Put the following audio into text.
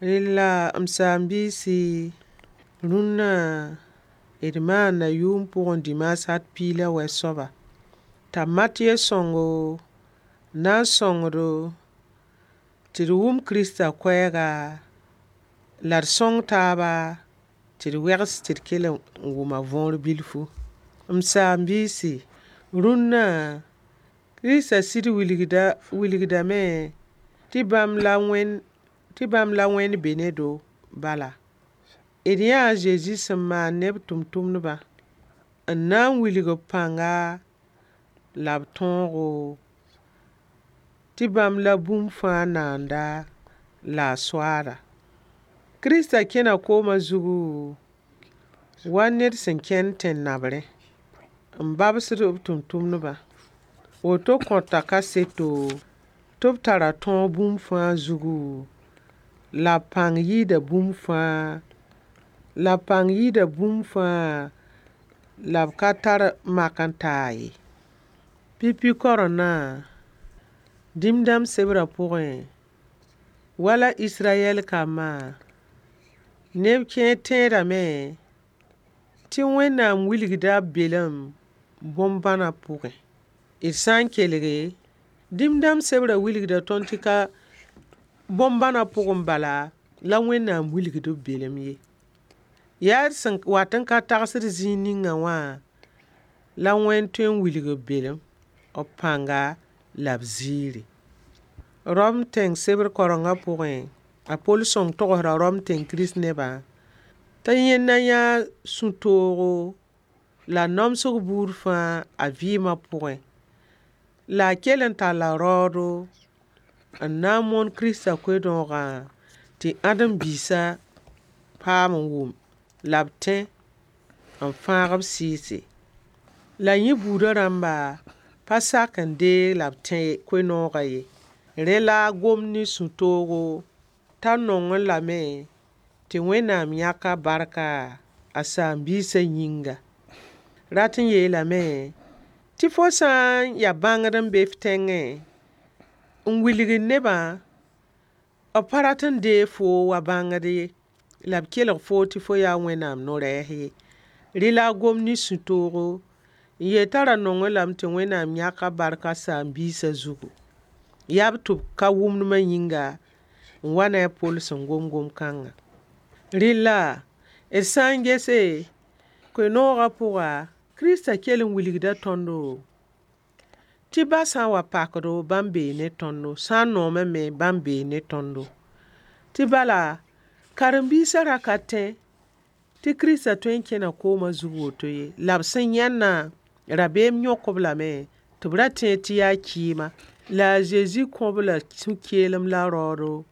Rella m saam-biisi, rũnã d maanda yʋʋm pʋgẽ dimaas at 19 soaba t'a Matɩyɛ sõngo n na n sõng-do tɩ d wʋm Kirista koɛɛga la d sõng taaba tɩ d wegs tɩ d kell n wʋm a võor bilfu. M saam-biisi, rũnã Kirista sɩd wilgdame tɩ bãmb la Wẽnd be ne-do bala. D yãa a Zezi sẽn maan ne b tʋmtʋmdbã n na n wilg b pãnga la b tõogo tɩ bãmb la bũmb fãa naanda la a soaala. Kirista kẽna koomã zugu wa ned sẽn kẽnd tẽn-nabrẽ n babsd b tʋmtʋmdbã. Woto kõta kaseto tɩ b tara tõog bũmb fãa zugu, la b pãng yɩɩda bũmb fãa, la b pãng yɩɩda bũmb fãa, la b ka tar mak n taa ye. Pipi kaorengdã, dĩm-dãmb sebrã pʋgẽ, wala Israyɛl kambã, neb kẽer tẽedame tɩ Wẽnnaam wilgda b belem bõn-bãna pʋgẽ. D sã n kelge, dĩm-dãmb sebrã wilgda tõnd tɩ ka bõn-bãna pʋgẽ bala la Wẽnnaam wilgd b belem ye. Yaa d sẽn wat n ka tagsd zĩig ninga wã la Wẽnd tõe n wilg b belem, b pãnga la b ziiri. Rom tẽng sebr kaorengã pʋgẽ, a Pol sõng togsda Rom tẽng Kirist-nebã t'a yẽnda yãa sũ-toogo la namsg buud fãa a vɩɩmã pʋgẽ. La a kell n talla raoodo n na n moon Kirista koe-noogã tɩ ãdem-biisã paam n wʋm la b tẽ n fãag b sɩɩse. La yẽ buudã rãmba pa sak n deeg la b tẽ koe-noogã ye. Rẽ la a gom ne sũ-toogo t'a nongẽ lame tɩ Wẽnnaam yãk a barka a saam-biisã yĩnga. Rat n yeelame tɩ fo sã n ya bãngd n be f tẽngẽ n wilgd nebã, b pa rat n deeg foo wa bãngd ye, la b kelg foo tɩ fo yaa Wẽnnaam no-rɛɛs ye. Rẽ la a gom ne sũ-toogo n yeel t'a ra nongẽ lame tɩ Wẽnnaam yãk a barka saam-biisã zugu. Yaa b tɩ b ka wʋmdmã yĩnga n wa ne a Pol sẽn gom gom-kãngã. Rella, d sã n gese, koe-noogã pʋga, Kirista kell n wilgda tõndo tɩ ba sã n wa pakdo, bãmb bee ne tõndo, sã n noomame me, bãmb bee ne tõndo. Tɩ bala, karen-biisã ra ka tẽ tɩ Kirista tõe n kẽna koomã zug woto ye. La b sẽn yãnna, rabeem yõk-b lame tɩ b ra tẽed tɩ yaa kɩɩma. La a Zezi kõ-b la sũ-keelem la raoodo.